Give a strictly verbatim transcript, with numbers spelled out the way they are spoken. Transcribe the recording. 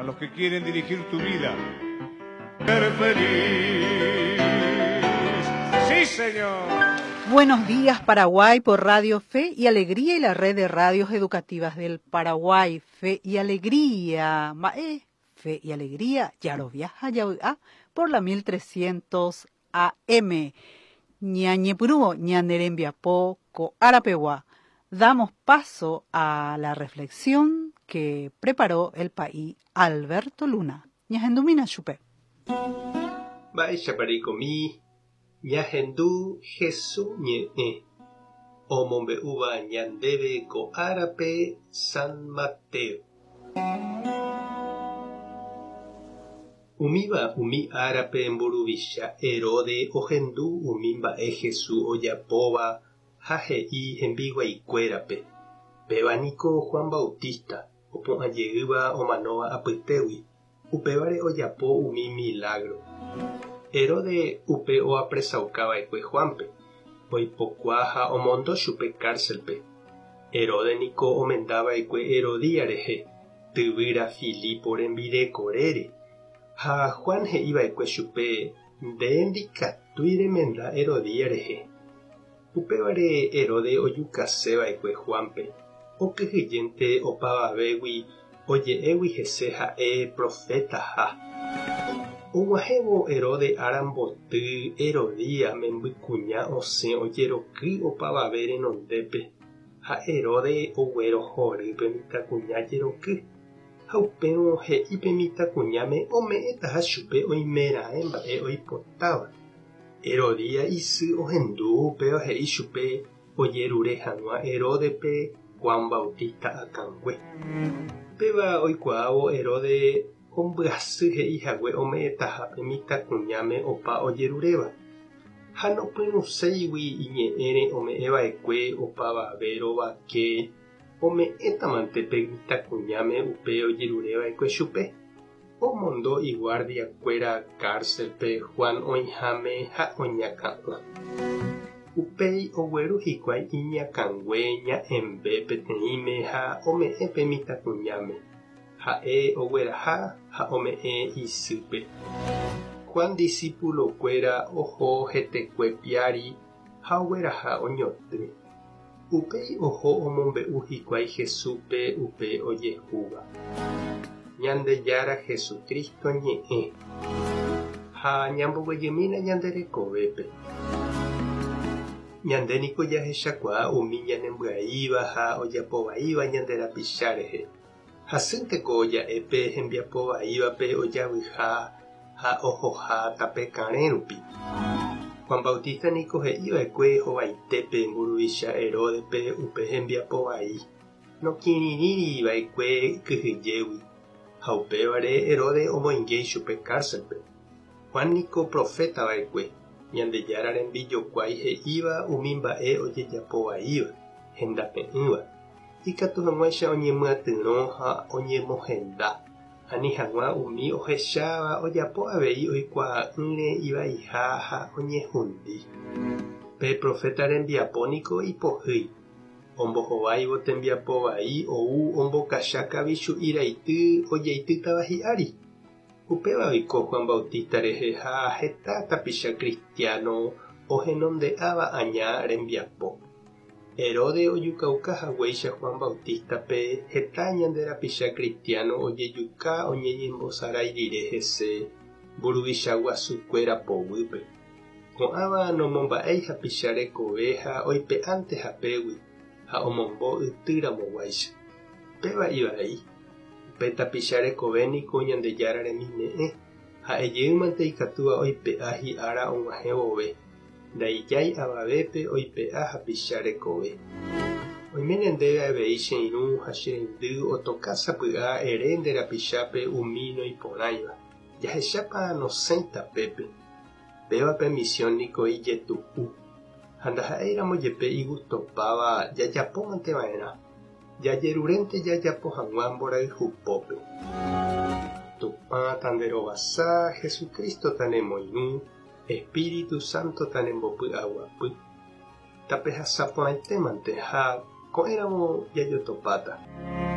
los que quieren dirigir tu vida. Ser feliz. Sí, señor. Buenos días, Paraguay, por Radio Fe y Alegría y la red de radios educativas del Paraguay. Fe y Alegría. Mae, Fe y Alegría, Yaroviaja, Yaudá, por la mil trescientos A M. Ñañepyrũ, ñane rembiapo, ko árapegua. Damos paso a la reflexión que preparó el pa'i Alberto Luna. Ñahendumína chupe. Mba'éichapa reikomi, ñahendu Jesús ñe'ẽ omombe'úva ñandéve ko árape San Mateo. Umíva umi árape mburuvicha Herode ohendu umi mba'e Jesús ojapóva ha he'i hembiguaikuérape: "Péva niko Juan Bautista, opu'ãjeýva omanóva apytégui, upévare ojapo umi milagro". Herode upe oapresaukava'ekue Juanpe, oipokua ha omondo chupe cárcelpe. Herode niko omendava'ekue Herodía rehe, tyvýra Filipo rembirekorére, ha Juan he'iva'ekue chupe: "Nde ndikatúi remenda Herodía rehe". Upévare Herode ojukaseva'ekue Juanpe, okyhyjénte opavavégui oje'égui hese ha'e profetaha. Og̃uahẽvo Herode áramboty, Herodía membykuña osẽ ojeroky opavave renondépe ha Herode oguerohory pe mitãkuña jeroky ha upérõ he'i pe mitãkuñáme ome'ẽtaha chupe oimeraẽ mba'e oipotáva. Herodía isy ohendu upéva he'i chupe ojerure hag̃ua Heródepe Juan Bautista akãngue. Péva oikuaávo Herode ombyasy he'ihague ome'ẽtaha pe mitãkuñáme opa ojeruréva. Ha nopyrũséigui iñe'ẽre ome'ẽva'ekue opavave rovake ome'ẽtamante pe mitãkuñáme upe ojerureva'ekue chupe. Omondo iguardiakuéra cárcelpe Juan oĩháme ha oñakã'ã. Upéi ogueru hikuái iñakãngue ña'ẽmbe peteĩme ha ome'ẽ pe mitãkuñáme. Ha'e ogueraha ha ome'ẽ isýpe. Juan discípulokuéra oho hetekue piári ha ogueraha oñotỹ. Upéi oho omombe'u hikuái Jesúspe upe ojehúva. Ñandejára Jesucristo ñe'ẽ. Ha ñamboguejymína ñande rekovépe. Ñande niko jahechakuaa umi ñanembyaíva ha ojapovaíva ñande rapicha rehe. Hasýnteko ja'épe hembiapovaívape ojavyha ha ohoha tape karẽ rupi. Juan Bautista niko he'iva'ekue hovaitépe mburuvicha Heródepe upe hembiapovai. Nokirirĩriva'ekue kyhyjégui ha upévare Herode omoinge chupe cárcelpe. Juan niko profetava'ekue, Ñandejára rembijokuái he'íva umi mba'e ojejapovaíva, hendape'ỹva. Ikatu hag̃uáicha oñemyatyrõ ha oñemohenda, ani hag̃ua umi ohecháva ojapo avei oikuaa'ỹre ivaiha ha oñehundi. Pe profeta rembiapo niko ipohýi. Ombohováivo tembiapovai ou ombokacha kavichu'i raity ojeitýtava hi'ári. Upéva oiko Juan Bautista rehe ha heta tapicha cristiano ohenonde'áva aña rembiapo. Herode ojukauka haguéicha Juan Bautistape, heta ñande rapicha cristiano ojejuka oñeñembosarái rire hese mburuvicha guasukuéra poguýpe. Ko'ãva nomomba'éi hapicha rekove ha oipe'ánte hapégui ha omombo ytýramoguáicha. Péva ivai. Upe tapicha rekove niko Ñandejára remime'ẽ ha'ejeýmante ikatúva oipe'a hi'ára og̃uahẽ vove. Ndaijái avavépe oipe'a hapicha rekove. Oiméne ndéve avei che irũ ha che reindy otoka sapy'a ere nde rapichápe umi noiporãiva. Jahechápa nosẽi tapépe. Péva pe misión niko ijetu'u. Ha ndaha'éiramo jepe igustopáva jajapómanteva'erã. Jajerurénte jajapo hag̃ua mborayhupópe. Tupã tanderovasa, Jesucristo tanemoirũ, Espíritu Santo tanembopy'aguapy. Tapehasa porãitémante ha ko'ẽramo jajotopáta.